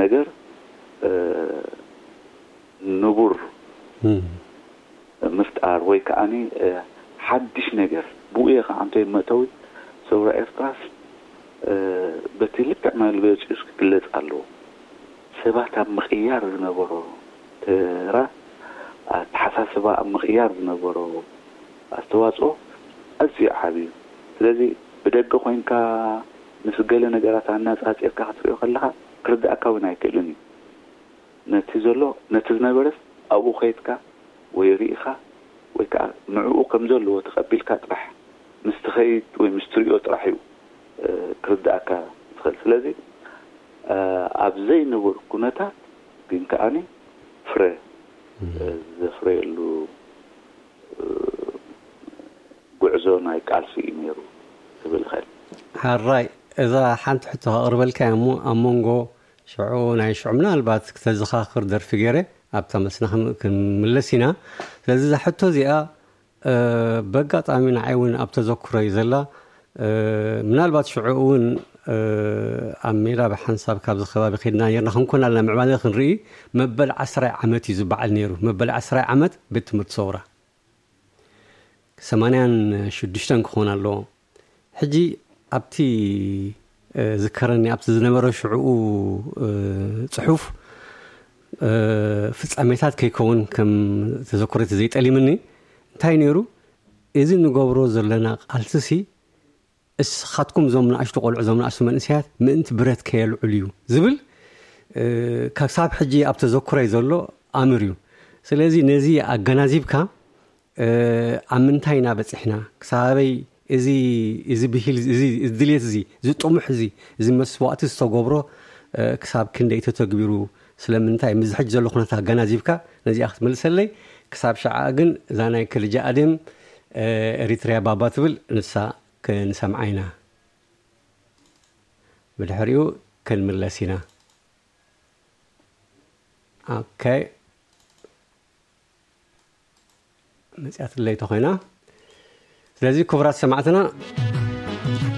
ነገር ንቡር ምፍጣር ወይ ከዓኒ ሓድሽ ነገር ብኡ እየ ከዓ እንተ መእተዊ ሰውራ ኤርትራስ በቲ ልክዕ መግለፂኡስ ክግለፅ ኣለዎ። ሰባት ኣብ ምቕያር ዝነበሮ ተራ፣ ኣተሓሳስባ ኣብ ምቕያር ዝነበሮ ኣስተዋፅኦ ኣዝዩ ዓብዩ። ስለዚ ብደገ ኮይንካ ምስ ገለ ነገራት ኣነፃፂርካ ክትሪኦ ከለካ ክርድኣካ እውን ኣይክእልን እዩ። ነቲ ዘሎ ነቲ ዝነበረስ ኣብኡ ከይድካ ወይ ርኢኻ ወይ ከዓ ንዕኡ ከም ዘለዎ ተቐቢልካ ጥራሕ ምስ ትኸይድ ወይ ምስ ትሪኦ ጥራሕ እዩ ክርድኣካ ዝኽእል። ስለዚ ኣብ ዘይንቡር ኩነታት ግን ከዓኒ ፍረ ዘፍረየሉ ጉዕዞ ናይ ቃልሲ እዩ ነይሩ ክብል ይኽእል። ሓራይ፣ እዛ ሓንቲ ሕቶ ከቕርበልካ እያ እሞ ኣብ መንጎ ሽዑ ናይ ሽዑ ምናልባት ክተዘኻኽር ደርፊ ገይረ ኣብታ መስና ክም- ክንምለስ ኢና። ስለዚ እዛ ሕቶ እዚኣ በጋጣሚ ንዓይ እውን ኣብ ተዘክሮ እዩ ዘላ። ምናልባት ሽዑ እውን ኣብ ሜዳ ብሓንሳብ ካብዚ ከባቢ ከድና ነርና ክንኮን ኣለና ምዕባለ ክንርኢ። መበል ዓስራይ ዓመት እዩ ዝበዓል ነይሩ። መበል ዓስራይ ዓመት ቤት ትምህርቲ ሰውራ ሰማንያን ሽዱሽተን ክኾን ኣለዎ። ሕጂ ኣብቲ ዝከረኒ ኣብቲ ዝነበረ ሽዕኡ ፅሑፍ ፍፃሜታት ከይከውን ከም ተዘክሮት ዘይጠሊምኒ እንታይ ነይሩ? እዚ ንገብሮ ዘለና ቃልስሲ እስኻትኩም እዞም ንኣሽቱ ቆልዑ እዞም ንኣሽቱ መንእሰያት ምእንቲ ብረት ከየልዕሉ እዩ ዝብል ክሳብ ሕጂ ኣብ ተዘክሮይ ዘሎ ኣምር እዩ። ስለዚ ነዚ ኣገናዚብካ ኣብ ምንታይ ኢና በፂሕና ክሳበይ እዚ እዚ ብሂል እዚ ድልየት እዚ እዚ ጥሙሕ እዚ እዚ መስዋእቲ ዝተገብሮ ክሳብ ክንደይ ተተግቢሩ ስለምንታይ ምዚ ሕጂ ዘሎ ኩነታት ኣገናዚብካ ነዚኣ ክትመልሰለይ። ክሳብ ሸዓ ግን እዛ ናይ ከልጃ ኣደም ኤሪትሪያ ባባ ትብል ንሳ ክንሰምዓ ኢና። ብድሕሪኡ ክንምለስ ኢና። ኦኬ፣ መፅያትለይ ተኾይና። ስለዚ ክቡራት ሰማዕትና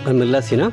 ክንምለስ ኢና።